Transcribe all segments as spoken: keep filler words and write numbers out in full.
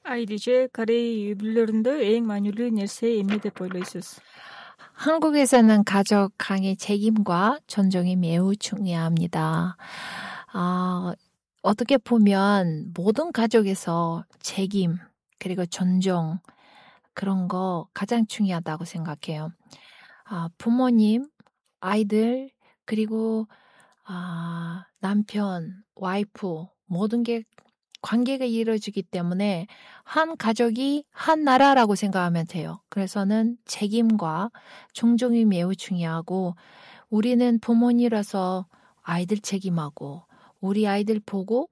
Айрыжа Корей үй бүлөлөрүндө эң маанилүү нерсе эмне деп ойлойсуз? 한국에서는 가족 간의 책임과 존중이 매우 중요합니다. 아, 어떻게 보면 모든 가족에서 책임 그리고 존중 그런 거 가장 중요하다고 생각해요. 아, 부모님, 아이들 그리고 아, 남편, 와이프 모든 게 관계가 이루어지기 때문에 한 가족이 한 나라라고 생각하면 돼요. 그래서는 책임과 존중이 매우 중요하고 우리는 부모님이라서 아이들 책임하고 우리 아이들 보고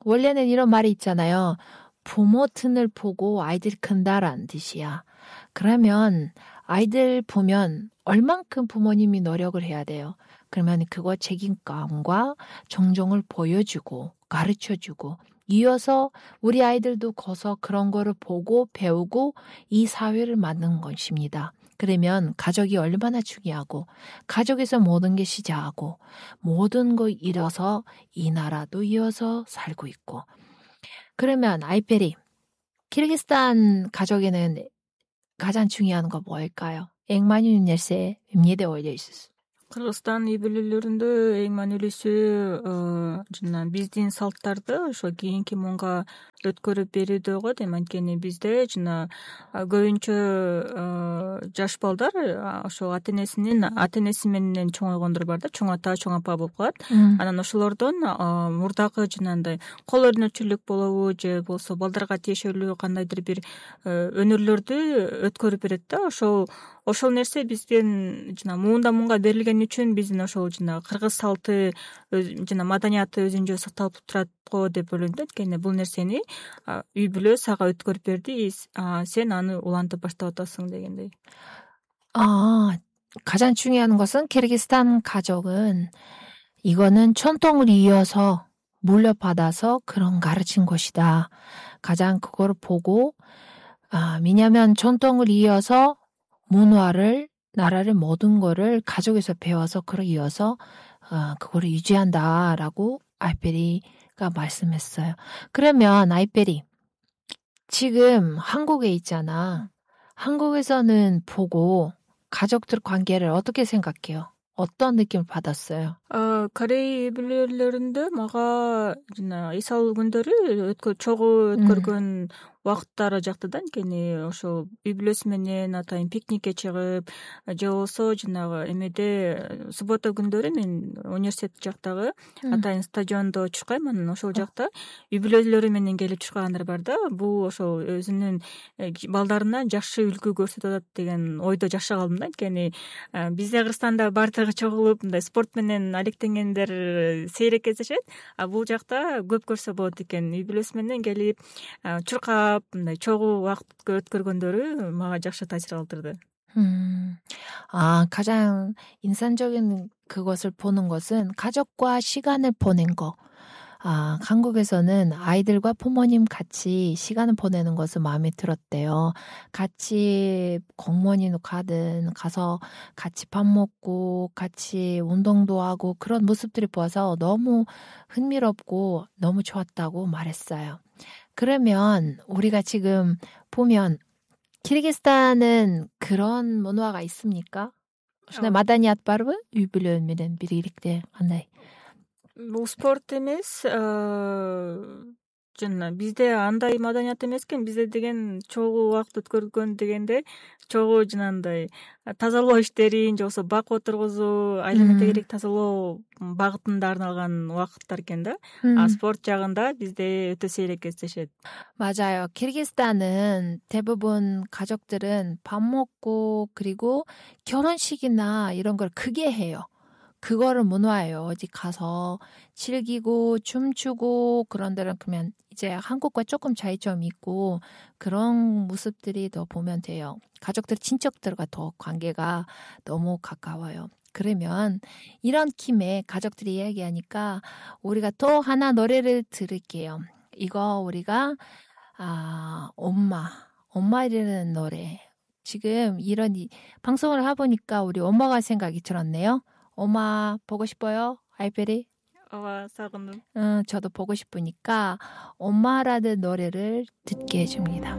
원래는 이런 말이 있잖아요. 부모 튼을 보고 아이들이 큰다라는 뜻이야. 그러면 아이들 보면 얼만큼 부모님이 노력을 해야 돼요. 그러면 그거 책임감과 존중을 보여주고 가르쳐주고 이어서 우리 아이들도 커서 그런 거를 보고 배우고 이 사회를 만드는 것입니다. 그러면 가족이 얼마나 중요하고 가족에서 모든 게 시작하고 모든 거 이뤄서 이 나라도 이어서 살고 있고 그러면 아이페리 키르기스탄 가족에는 가장 중요한 거 뭘까요? 앵마뉴 нерсе эмне деп ойлойсуз? Кыргызстан үй бүлөлөрүндө эң маанилүүсү жана биздин салттарды ошо кийинки муунга өткөрүп берүүдө го дейм. Анткени бизде жана көбүнчө жаш балдар ошо ата энесинин ата энеси менен чоңойгондор бар да, чоң ата, чоң апа болуп калат. Анан ошолордон мурдагы жанагындай кол өнөрчүлүк болобу же болбосо балдарга тиешелүү кандайдыр бир өнөрлөрдү өткөрүп берет да. Ошол ошол нерсе биздин жана муунда муунга берилген үчүн биздин ошол жана кыргыз салты жана маданияты өзүнчө сакталып турат го деп ойлойм да. Анткени бул нерсени үй бүлө сага өткөрүп берди, сен аны улантып баштап атасың дегендей. 아, 가장 중요한 것은 키르기스탄 가족은 이거는 전통을 이어서 물려받아서 그런 가르친 것이다. 가장 그걸 보고 아, 왜냐하면 전통을 이어서 문화를 나라를 모든 거를 가족에서 배워서 그걸 이어서 어, 그거를 유지한다라고 아이페리가 말씀했어요. 그러면 아이페리 지금 한국에 있잖아. 한국에서는 보고 가족들 관계를 어떻게 생각해요? 어떤 느낌을 받았어요? 아, Корей үй бүлөлөрүндө мага жана эсалуу күндөрү чогуу өткөргөн убакыттары жакты да. Анткени ошол үй бүлөсү менен атайын пикникке чыгып же болбосо жанагы эмеде суббота күндөрү мен университет жактагы атайын стадиондо чуркайм. Анан ошол жакта үй бүлөлөрү менен келип чуркагандар бар да. Бул ошол өзүнүн балдарына жакшы үлгү көрсөтүп атат деген ойдо жашап калдым да. Анткени бизде Кыргызстанда баардыгы чогулуп мындай спорт менен алектенгендер сейрек кездешет, а бул жакта көп көрсө болот экен. Үй бүлөсү менен келип чуркап мындай чогуу убакыт өткөргөндөрү мага жакшы таасир калтырды. 음, 아, 가장 인상적인 그것을 보는 것은 가족과 시간을 보낸 거. 아, 한국에서는 아이들과 부모님 같이 시간을 보내는 것을 마음에 들었대요. 같이 공원이나 가든 가서 같이 밥 먹고 같이 운동도 하고 그런 모습들이 보아서 너무 흥미롭고 너무 좋았다고 말했어요. 그러면 우리가 지금 보면 키르기스탄은 그런 문화가 있습니까? ушундай маданият барбы? Үй бүлө менен бириликте кандай? Бул спорт эмес, жана бизде андай маданият эмес экен. Бизде деген чогуу убакыт өткөргөн дегенде чогуу жанагындай тазалоо иштерин же болбосо бак отургузуу, айлана тегерек тазалоо багытында арналган убакыттар экен да. А спорт жагында бизде өтө сейрек кездешет. 맞아요. 키르기스탄은 대부분 가족들은 밥 먹고 그리고 결혼식이나 이런 걸 크게 해요. 그거를 문화예요. 어디 가서 즐기고 춤추고 그런 데는 그러면 이제 한국과 조금 차이점이 있고 그런 모습들이 더 보면 돼요. 가족들, 친척들과 더 관계가 너무 가까워요. 그러면 이런 김에 가족들이 이야기하니까 우리가 또 하나 노래를 들을게요. 이거 우리가 아, 엄마, 엄마라는 노래. 지금 이런 이, 방송을 해보니까 우리 엄마가 생각이 들었네요. 엄마 보고 싶어요? 아이페리? ооба сагындым. 어, 저도 보고 싶으니까 엄마라는 노래를 듣게 해줍니다.